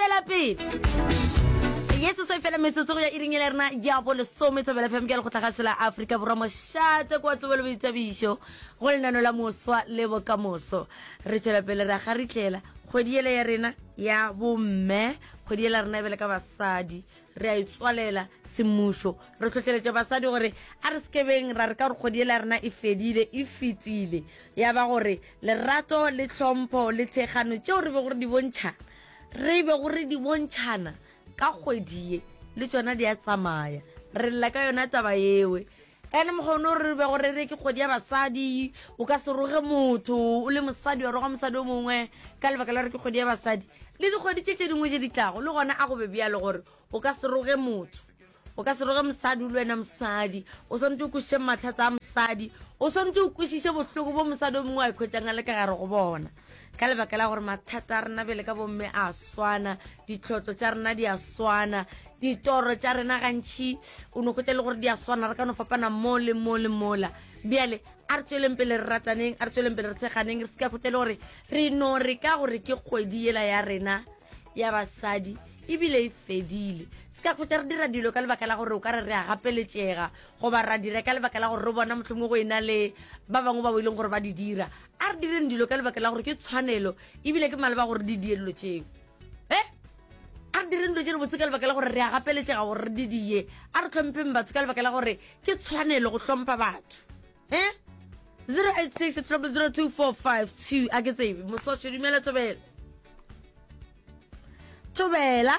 tšwela pele. Ye seswai fela metsotso go ya iring ya rena ya bolesome Thobela FM ke lekgotlagašo la Afrika Borwa mošate kwa tsebo le boithabišo go lenano la moswa le bokamoso. Re tšwela pele ra garitlela kgwedi yela ya rena ya bomme, kgwedi yela rena e bele ka basadi re a itswalela semmušo re hlohleletša basadi gore a re sekebeng ra re ka gore kgwedi yela ya rena e fedile e fetile ya ba gore lerato le tlhompho le thekgano tšeo re bego re di bontšha re bego re di bontšhana ka kgwedi ye le tšona di a tsamaya re lla ka yona taba ewe Ene mokgwa o re bego re re ke kgwedi ya basadi, o ka se roge motho o le mosadi wa roga mosadi o mongwe ka lebaka la gore ke kgwedi ya basadi. Le dikgwedi tše tše dingwe tše di tlago le gona a go be bjalo gore o ka se roge motho, o ka se roge mosadi o le wena mosadi, o swanetše o kwešiše mathata a mosadi, o swanetše o kwešiše bohloko bo mosadi o mongwe a ikhwetšang a le ka gare go bona. Ka lebaka la gore mathata a rena bjale ka bomme a swana, ditlhotlo tša rena di a swana, ditoro tša rena gantši o no hwetša le gore di a swana, re ka no fapana mo le mo le mola. Bjale a re tšweleng pele re rataneng, a re tšweleng pele re tsheganeng, re se ka hwetša le gore re no re ka gore ke kgwedi yela ya rena ya basadi ebile e fedile. Se ka hwetša re dira dilo ka lebaka la gore o ka re re a gapeletšega goba ra dira ka lebaka la gore re bona mohlomongwe go e na le ba bangwe ba bo e leng gore ba di dira. A re direng dilo ka lebaka la gore ke tshwanelo ebile ke maleba gore di die dilo tšeo. E a re direng dilo tše dibotse ka lebaka la gore re a gapeletšega gore re di die. A re hlompheng batho ka lebaka la gore ke tshwanelo go hlompha batho. E 086 0002452 a ke tsebe mososho dumela thobela. Thobela.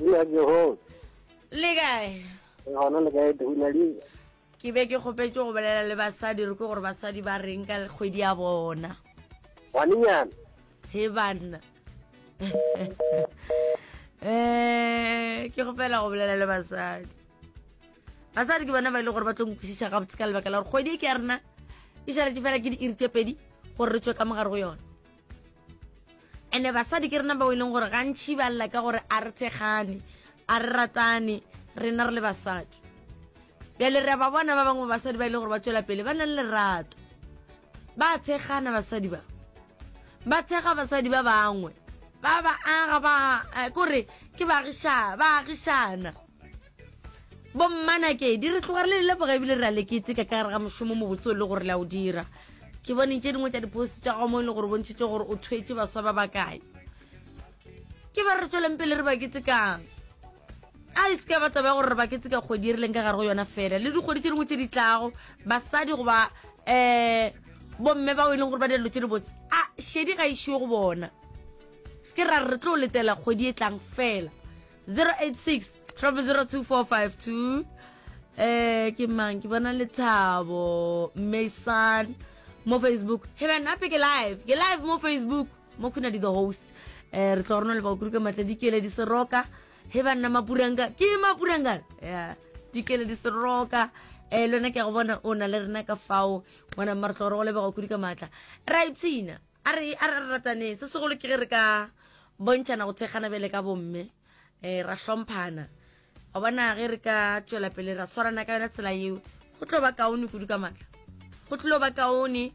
Ya Jehova. Le kae? Gona le kae Dunali? Ke be ke kgopetše go bolela le basadi re kwe gore basadi ba reng ka kgwedi ya bona. Ngwanenyana. He banna. Eh, ke kgopela go bolela le basadi. Basadi ke bona ba ile e gore ba tlo nkwešiša gabotse ka lebaka la gore kgwedi e ke ya rena e šaletše fela ke diiri tše pedi gore re tšwe ka mogare go yona. Ene basadi ke rena bao e leng gore gantši ba lla ka gore a re thekgane, a re ratane, rena re le basadi. Bjale re a ba bona ba bangwe ba basadi ba e leng gore ba tšwela pele ba na le lerato. Ba thekgana basadi ba. Ba thekga basadi ba bangwe. Ba ba aga ba eh, kore ke baagiša ba agišana. Bommanakedi re tloga re le leboga ebile re a le keteka ka gare ga mošomo mobotse o le gore le a o dira. Ke bone tše dingwe tša dipost tša gago mo e le gore o bontšhitše gore o thwetše baswa ba bakae. Ke ba re tsweleng pele re ba ketekang. A e se ka ba taba ya gore re ba keteka kgwedi e re leng ka gare go yona fela le dikgwedi tše dingwe tše di tlago basadi goba um bomme bao e leng gore ba dira dilo tše dibotse a šedi ga e šiwe go bona. Se ke ra re re tlo letela kgwedi e tlang fela. 086 0002452 eh ke mang ke bona lethabo mason mo facebook he man ape ke live ke live mo facebook mo khuna di the host eh re tlo rona le ba kuruka matla dikele di seroka he banna mapuranga ke mapuranga ya dikele di seroka eh lona ke go bona o na le rena ka fao ngwana mma re tlo re go leboga kudu ka matla ra ipshina A re, a re rataneng. Se segolo ke ge re ka bontšhana go thekgana bjale ka bomme, um ra hlomphana. Wa bona ge re ka tšwela pele ra swarana ka yona tsela yeo, go tlo ba kaone kudu ka matla. Go tlo ba kaone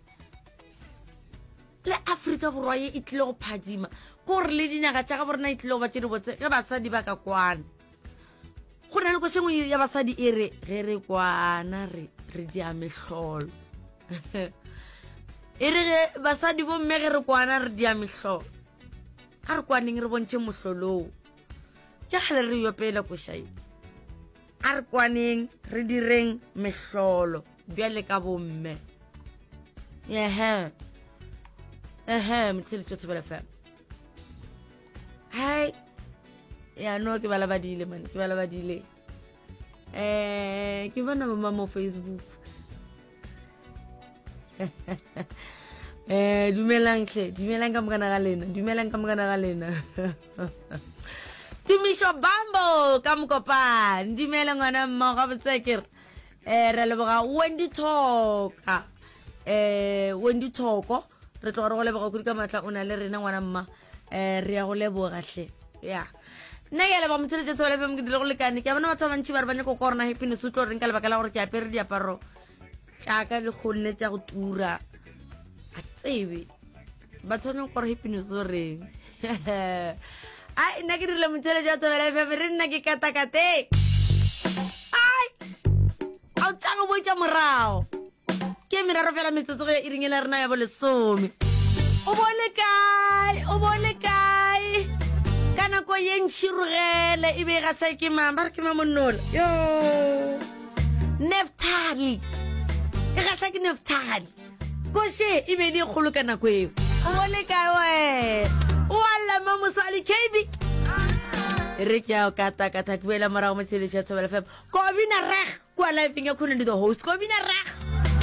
le Afrika Borwa ye e tlile go phadima. Ke gore le dinaga tša gabo rena e tlile go ba tše dibotse ge basadi ba ka kwana. Go na le koša nngwe ya basadi e re ge re kwana re re dia mehlolo. E re ge basadi bomme ge re kwana re dia mehlolo. A re kwaneng re bontšhe mohloloo. Ke kgale re yopela koša ye. A re kwaneng re direng mehlolo bjale ka bomme. Ehe. Ehe, motheletši wa Thobela FM. Hai. Ya no ke bala badile man, ke bala badile. Eh, ke bona bo mo Facebook. Eh, dumelang hle, dumelang ka mokana ga lena, dumelang ka mokana ga lena. Tumišo Bambo ka Mokopane, dumela ngwana mma gabotse ke re. Eh, re leboga Wendy Thoka. Eh, Wendy Thoko, re tloga re go leboga kudu ka matla o na le rena ngwana mma. Eh, re ya go leboga hle. Ya. Nna ke a leboga motheletše Thobela FM ke dile go lekane. Ke a bona batho ba bantši ba re ba nyaka go kwa gore na happiness o tlo reng ka lebaka la gore ke apere diaparo tša ka le kgonne tša go tura. Ga ke tsebe. Batho ba nyaka gore happiness o reng. Ai, nna ke dirile motheletši wa Thobela FM, re nna ke katakateng. Ai, a o tšago boetša morago. Ke meraro fela metsotso go ya iring e la rena ya bolesome. O bo le kae? O bo le kae? Ka nako ye ntšhirogele e be e gasa ke mang? Ba re ke mang monnola? Yo. Neftali. E gasa ke Neftali. Koše e be e le e kgolo ka nako eo. O bo le kae wena? O a lla mma mosadi KB. E re ke ya o katakata ke boela morago mo tsheletšo ya Thobela FM. Kobina reg kua live-eng ya Khononi the host. Kobina reg.